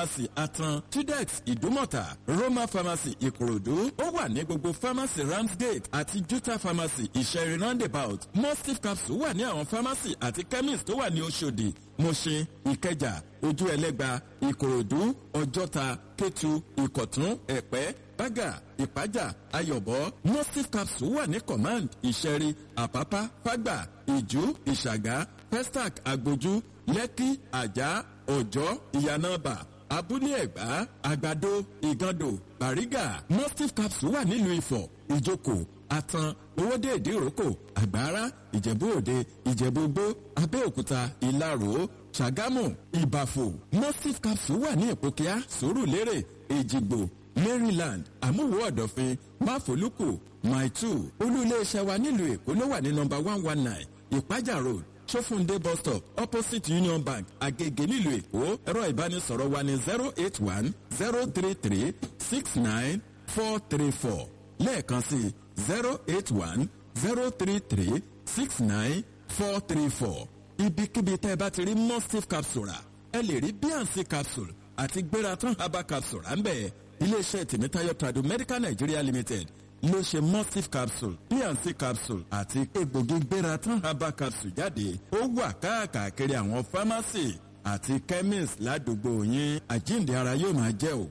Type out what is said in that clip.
Pharmacy Atan, Tudex Ìdúmọ̀tà, Roma Pharmacy Ìkòròdú. Ó wà ní gbogbo Pharmacy Ramsgate àti Juta Pharmacy Ìṣẹ̀rí Roundabout. Mustif capsule wà ní àwọn pharmacy àti chemist tó wà ní Oṣòdì, Mùṣin, Ìkẹjà, Ojú Ẹlẹ́gba, Ìkòròdú, Ọjọ́ta, Kétu, Ìkọ̀tún, Ẹ̀pẹ́, Bágà, Ìpájà, Ayọ̀bọ̀. Mustif capsule wà ní Command, Ìṣẹ̀rí, Àpápá, Fágbà, Ìjú, Ìṣàgá, Pestac, Agbójú, Lẹ́kí, Àjà, Ọ̀jọ́, Ìyànàbà, Abúlé Ẹ̀gbá, Àgbàdo, Ìgàndò, Bàrígà. Mustif capsule wà nílùú Ifọ̀, Ìjókòó, Àtàn, Owódé Ìdíròkò, Àgbára, Ìjẹ̀bú Òde, Ìjẹ̀bú Igbó, Abẹ́òkúta, Ìlaró, Ṣàgámù, Ìbàfò. Mustif capsule wà ní Ìpókíá, Sùúrùlérè, Èjìgbò, Maryland, Àmúwò Ọ̀dọ̀fin, Máfolúkù, Maitu. Olú iléeṣẹ́ wa nílùú Èkó ló wà ní nọmba 119, Ìpájà Road, Sófúndé bus stop, opposite Union Bank, Agege nílùú Èkó. Ẹ̀rọ ìbánisọ̀rọ̀ wa ní 08103369434. Lẹ́ẹ̀kan sí 08103369434. Ibikíbi tẹ́ ẹ bá ti rí Mustif capsule rà, ẹ lè rí BNC capsule àti Gbératan herbal capsule rà ń bẹ̀. Iléeṣẹ́ Tèmítáyọ̀ Trado Medical Nigeria Limited ló ṣe Mustif capsule, BNC capsule àti egbògi Gbératan herbal capsule jáde. Ó wà káàkiri àwọn fámásì àti chemist ládùúgbò yín. Àjíǹde ara yóò máa jẹ́ o.